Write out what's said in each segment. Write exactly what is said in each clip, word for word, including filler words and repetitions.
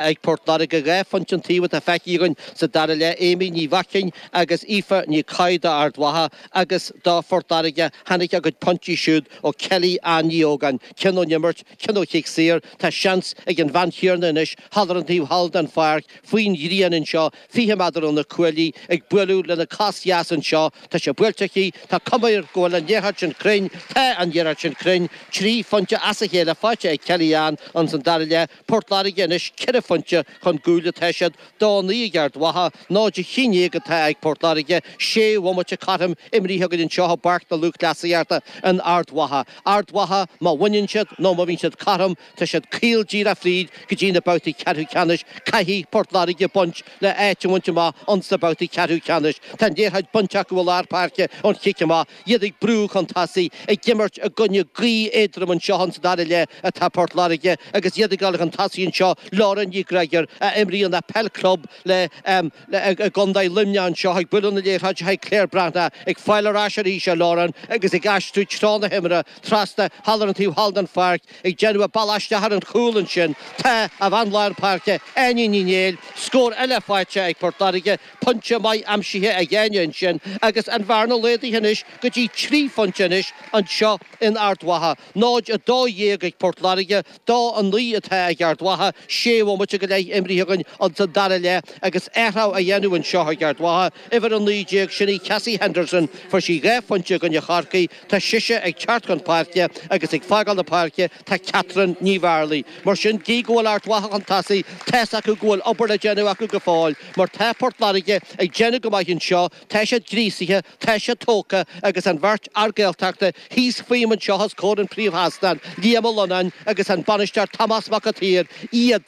Ag Port Láirge dhá phointe an taobh atá feicthe againn sa dara leath, Amy Ní Mhaicín agus Aoife Ní Cadhain d'Ard Mhacha agus do Phort Láirge tháinig a gcuid pointí siúd ó Kelly Ann Ní Ógáin, ceann ón imirt, ceann ó chic saor. Tá seans ag an bhean chéanna anois thall ar an taobh thall den pháirc faoin ghrian anseo, fiche méadar ó na cuaillí, ag bualadh lena cos dheas anseo. Tá sé buailte aici, tá cuma air go bhfuil an liathróid sin cruinn, tá an liathróid sin cruinn, trí phointe as a chéile faighte ag Kelly Ann ins an dara leath. Port Láirge anois ceithre phointe chun gcúil atá siad, dó naoi ag Ard Mhacha, náid a haon déag atá ag Port Láirge, sé bhomaite cothrom imrithe againn anseo i bPáirc na Lúthchleasaíochta in Ard Mhacha. Ard Mhacha, má bhaineann siad nó má bhíonn siad cothrom, tá siad caol díreach fríd go dtí na babhtaí ceathrú ceannais. Caithfidh Port Láirge baint le áit a bhaint amach ins na babhtaí ceathrú ceannais. Tá an liathróid bainte acu i lár páirce ón chic amach, iad ag brú chun tosaigh, ag imirt i gcoinne gaoth éadrom anseo ins an dara leath atá Port Láirge agus iad ag dul chun tosaigh anseo, Lauren Ní Ghreagóir a imríonn le peil club le i gContae Luimneach anseo ag bualadh na liathróide chuig Claire Breathnach ag fáil ar ais arís ar Lauren agus ag aistriú treo na himeartha trasna thall ar an taobh thall den pháirc ag déanamh a bealach isteach ar an chúl ansin tá a bhean lár páirce Áine Ní Néill scór eile faighte ag Port Láirge pointe maith aimsithe ag Áine ansin agus an bhearna laghdaithe anois go dtí trí phointe anois anseo in Ard Mhacha. Náid a dó dhéag ag Port Láirge, dó a naoi atá ag Ard Mhacha, sé bhomaite go leith imrithe againn ins an dara leath agus athrú á dhéanamh anseo ag Ard Mhacha. Uimhir a naoi déag, sin í Cassie Henderson, fuair sí dhá phointe i gcoinne Chorcaí, tá sise ag teacht chun páirce agus ag fágáil na páirce tá Catherine Ní Bhearlaigh. Mar sin, gí go bhfuil Ard Mhacha chun tosaigh, tá's acu go bhfuil obair le déanamh acu go fóill, mar tá Port Láirge ag déanamh go maith anseo, tá siad gríosaithe, tá siad tógtha agus an bheirt fhear Gaeltachta thíos fúm anseo os comhair an phríomhsheastáin, Liam Ó Lonáin agus an bainisteoir Tomás Mac an tSaoir, iad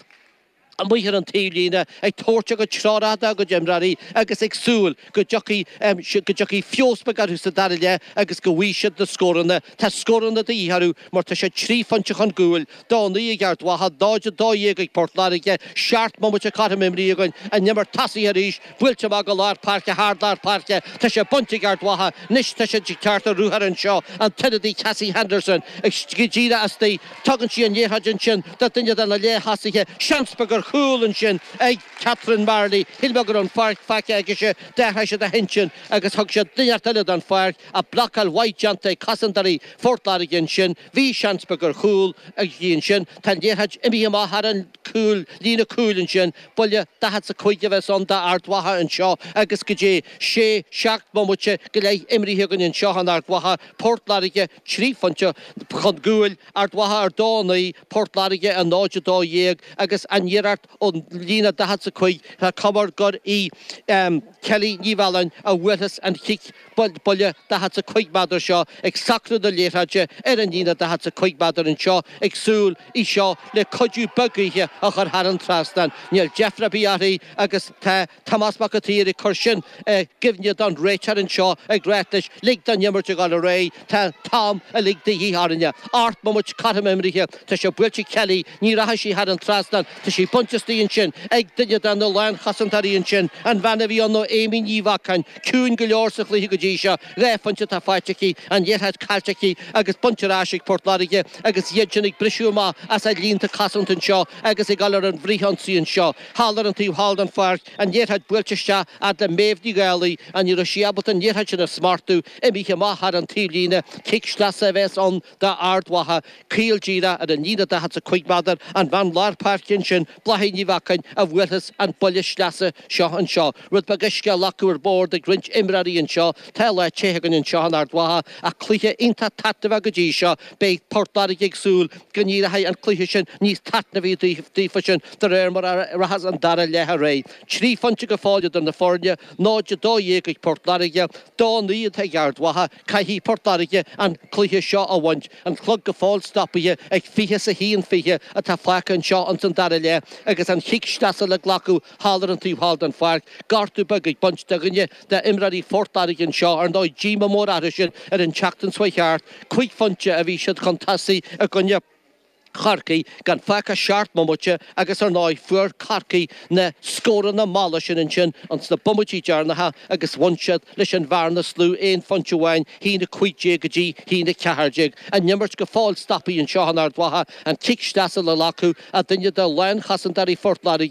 amuigh ar an taobhlíne ag tabhairt a gcuid treorach dá gcuid imreoirí agus ag súil go dtiocfaidh go dtiocfaidh feabhas beag orthu sa dara leath agus go bhfaighidh siad na scóranna. Tá scóranna de dhíth orthu mar tá siad trí phointe chun gcúil, dó naoi ag Ard Mhacha, náid a dó dhéag ag Port Láirge, seacht mbomaite cothrom imrithe againn, an imirt tosaithe arís, buailte amach go lár páirce, thar lár páirce, tá sé bainte ag Ard Mhacha, anois tá siad ag teacht ar ruathar anseo, an t-ionadaí Cassie Henderson ag go díreach istigh, tugann sí an liathróid ansin do dhuine de na leath-thosaithe, seans beag ar chúl ansin ag Catherine Marley, shíl mé go raibh an pháirc faighte aici, d'athraigh siad a hintinn agus thug siad duine eile don pháirc, ach blocáil mhaith déanta ag cosantóirí Phort Láirge ansin, bhí seans beag ar chúl aici ansin, tá an liathróid imithe amach thar an cúl, líne cúil ansin, buille daichead 's a cúig a bheas ann d'Ard Mhacha anseo agus go dtí sé, seacht mbomaite go leith imrithe againn anseo in Ard Mhacha, Port Láirge trí phointe chun gcúil, Ard Mhacha ar dó a naoi, Port Láirge ar náid a dó dhéag agus an iarracht ón líne daichead 's a cúig, tá cuma air gur í Kelly Ní Mhealláin a bhuailfeas an chic buille daichead 's a cúig méadar seo ag socrú na liathróide ar an líne daichead 's a cúig méadar anseo ag súil í seo le cuidiú beag gaoithe a chur thar an trasnán. Níl deifir ar bith uirthi agus tá Tomás Mac an tSaoir ag cur sin i gcuimhne don réiteoir anseo ag ráit leis lig don imirt a dhul ar aghaidh, tá an t-am uilig de dhíth orainne. Ocht mbomaite cothrom imrithe, tá sé buailte ag Kelly, ní rachaidh sí thar an trasnán, tá sí bainte istigh ansin ag duine de na lánchosantóirí ansin, an bhean a bhí ann nó Amy Ní Bheacháin, ciúin go leor sa chluiche go dtí seo, dhá phointe atá faighte aici, an liathróid caillte aici agus bainte ar ais ag Port Láirge agus iad sin ag briseadh amach as a líonta cosanta anseo agus ag dul ar an bhfrithionsaí anseo. Thall ar an taobh thall den pháirc, an liathróid buailte isteach fhad le Méabh Ní Dhálaigh, ach ní raibh sí ábalta an liathróid sin a smachtú, imithe amach thar an taobhlíne, cic sleasa a bheas ann d'Ard Mhacha, caol díreach ar an líne daichead 's a cúig méadar, an bhean lár páirce ansin, Bláithín Ní Bheacháin, a bhuailfeas an buille sleasa seo anseo. Rud beag uisce á ghlacadh ar bord ag roinnt imreoirí anseo. Tá lá te againn anseo in Ard Mhacha ach cluiche iontach taitneamhach go dtí seo. Beidh Port Láirge ag súil go n-éireoidh an cluiche sin níos taitneamhaí daofa sin de réir mar a rachas an dara leath ar aghaidh. Trí phointe go fóill idir na foirne, náid a dó dhéag ag Port Láirge, dó naoi atá ag Ard Mhacha. Caithfidh Port Láirge an cluiche seo a bhaint. An clog go fóill stopaithe ag fiche 's a haon fiche atá fágtha anseo ins an dara leath agus an chic sleasa le glacadh thall ar an taobh thall den pháirc. Gortú beag ag baint do dhuine d'imreoirí Phort Láirge anseo, ar ndóigh díomá mór orthu sin ar an tseachtain seo chuaigh thart. Cúig phointe a bhí siad chun tosaigh i gcoinne Chorcaí gan fágtha seacht mbomaite agus ar ndóigh fuair Corcaigh na scóranna malla sin ansin ins na bomaití deireanacha agus bhain siad leis an bhearna is lú aon phointe amháin, haon a cúig déag go dtí haon a ceathair déag. An imirt go fóill stoptha anseo in Ard Mhacha, an cic sleasa le glacadh ag duine de lánchosantóirí Phort Láirge,